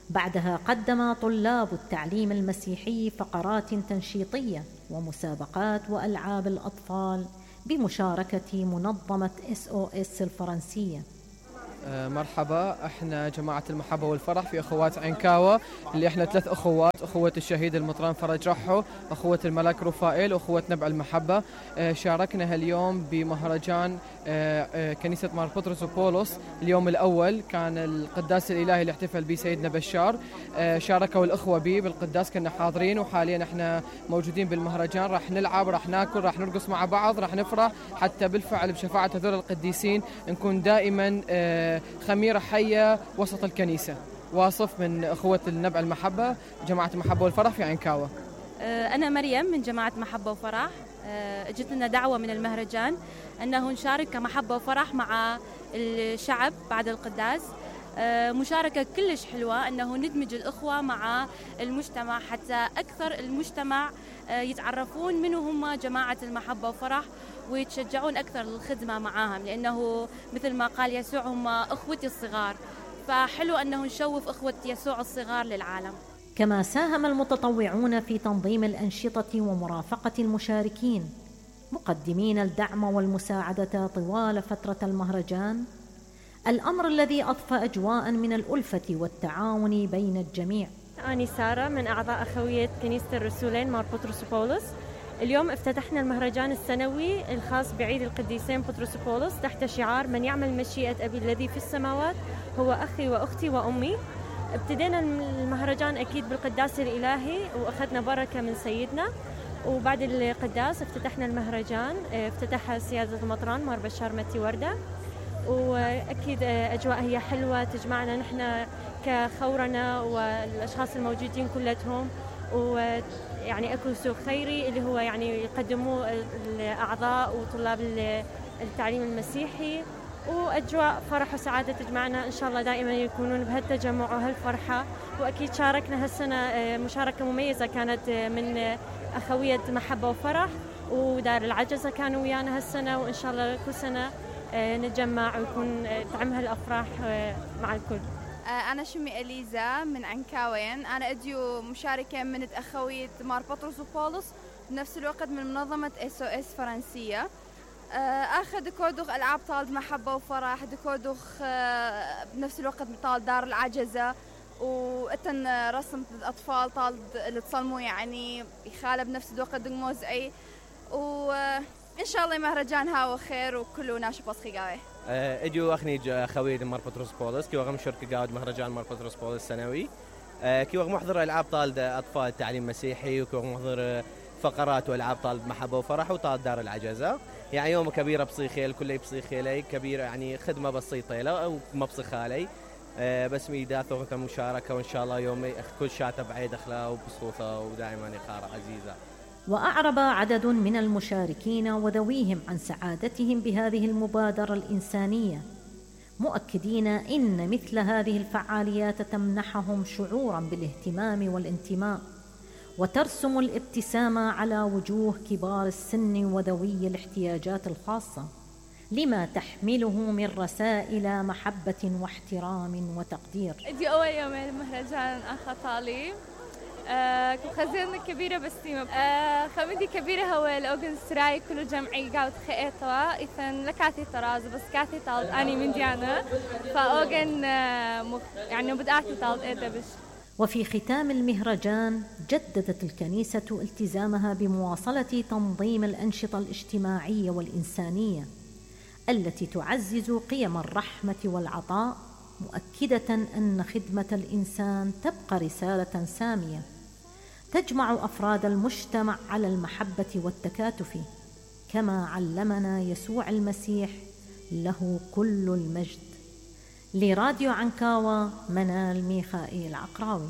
بعدها قدم طلاب التعليم المسيحي فقرات تنشيطية ومسابقات وألعاب الأطفال بمشاركة منظمة SOS الفرنسية. مرحبا، احنا جماعة المحبة والفرح في اخوات عنكاوة، اللي احنا 3 اخوات، اخوة الشهيد المطران فرج رحو، اخوة الملاك رفائيل، واخوة نبع المحبة. شاركنا هاليوم بمهرجان كنيسة مار بطرس وبولس. اليوم الاول كان القداس الالهي اللي احتفل به سيدنا بشار، شاركوا الاخوة به بالقداس، كنا حاضرين، وحاليا احنا موجودين بالمهرجان. راح نلعب، راح ناكل، راح نرقص مع بعض، راح نفرح، حتى بالفعل بشفاعة هذول القديسين نكون دائما خميرة حية وسط الكنيسة. واصف من أخوة النبع المحبة، جماعة المحبة والفرح في عنكاوة. أنا مريم من جماعة محبة وفرح. جت لنا دعوة من المهرجان أنه نشارك كمحبة وفرح مع الشعب بعد القداس. مشاركة كلش حلوة أنه ندمج الأخوة مع المجتمع، حتى أكثر المجتمع يتعرفون منو هم جماعة المحبة وفرح ويتشجعون أكثر للخدمة معاهم، لأنه مثل ما قال يسوع هم أخوتي الصغار، فحلو أنه نشوف أخوة يسوع الصغار للعالم. كما ساهم المتطوعون في تنظيم الأنشطة ومرافقة المشاركين، مقدمين الدعم والمساعدة طوال فترة المهرجان، الأمر الذي أضفى أجواء من الألفة والتعاون بين الجميع. أنا سارة من أعضاء أخوية كنيسة الرسولين مار بطرس وبولس. اليوم افتتحنا المهرجان السنوي الخاص بعيد القديسين بطرس وبولس تحت شعار من يعمل مشيئة أبي الذي في السماوات هو أخي وأختي وأمي. ابتدينا المهرجان أكيد بالقداس الإلهي وأخذنا بركة من سيدنا، وبعد القداس افتتحنا المهرجان، افتتحها سيادة المطران مار بشار متي وردة، وأكيد أجواء هي حلوة تجمعنا نحن كخورنا والأشخاص الموجودين كلهم، ويعني أكو سوق خيري اللي هو يعني يقدموه الأعضاء وطلاب التعليم المسيحي، وأجواء فرح وسعادة تجمعنا. إن شاء الله دائما يكونون بهالتجمع وهالفرحة. وأكيد شاركنا هالسنة مشاركة مميزة كانت من أخوية محبة وفرح ودار العجزة كانوا ويانا هالسنة، وإن شاء الله كل سنة نتجمع ويكون تعم هالأفراح مع الكل. أنا شمي إليزا من عنكاوين. أنا أديو مشاركة من أخوية مار بطرس وبولس، بنفس الوقت من منظمة SOS فرنسية. أخذ دكودوخ ألعاب طالد محبة وفرح، دكودوخ بنفس الوقت طالد دار العجزة، وأتن رسم الأطفال طالد اللي تصلموا يعني يخالب بنفس الوقت دموزعي، وإن شاء الله مهرجان هاو خير وكله ناشب وصخي قاوي. اجو اخني خويد مار بطرس بولس كي وغم شركة قاعد مهرجان مار بطرس بولس سنوي، كي وغم محضر العاب طالد اطفال تعليم مسيحي، وكي وغم محضر فقرات والعاب طالد محبه وفرح وطالد دار العجزه. يعني يوم كبيره بصيخيل كله بصيخيلي كبيره، يعني خدمه بسيطه له او ما بصيخالي، بس ميداث وقت مشاركه، وان شاء الله يوم كل شاته بعيد اخلاق وبصوته ودائما يخار عزيزه. وأعرب عدد من المشاركين وذويهم عن سعادتهم بهذه المبادرة الإنسانية، مؤكدين إن مثل هذه الفعاليات تمنحهم شعوراً بالاهتمام والانتماء، وترسم الابتسامة على وجوه كبار السن وذوي الاحتياجات الخاصة، لما تحمله من رسائل محبة واحترام وتقدير. دي أول يومين المهرجان أخا طالي خزينة كبيرة بس خمدي كبيرة هو الأوغن سراي كله جمعي قاعد خيطة إذن لكاتي طراز بس كاتي طالد أني من ديانا فأوغن يعني بدأتي طالد إيدا بش. وفي ختام المهرجان جددت الكنيسة التزامها بمواصلة تنظيم الأنشطة الاجتماعية والإنسانية التي تعزز قيم الرحمة والعطاء، مؤكدة أن خدمة الإنسان تبقى رسالة سامية تجمع أفراد المجتمع على المحبة والتكاتف، كما علمنا يسوع المسيح له كل المجد. لراديو عنكاوة، منال ميخائيل عقراوي.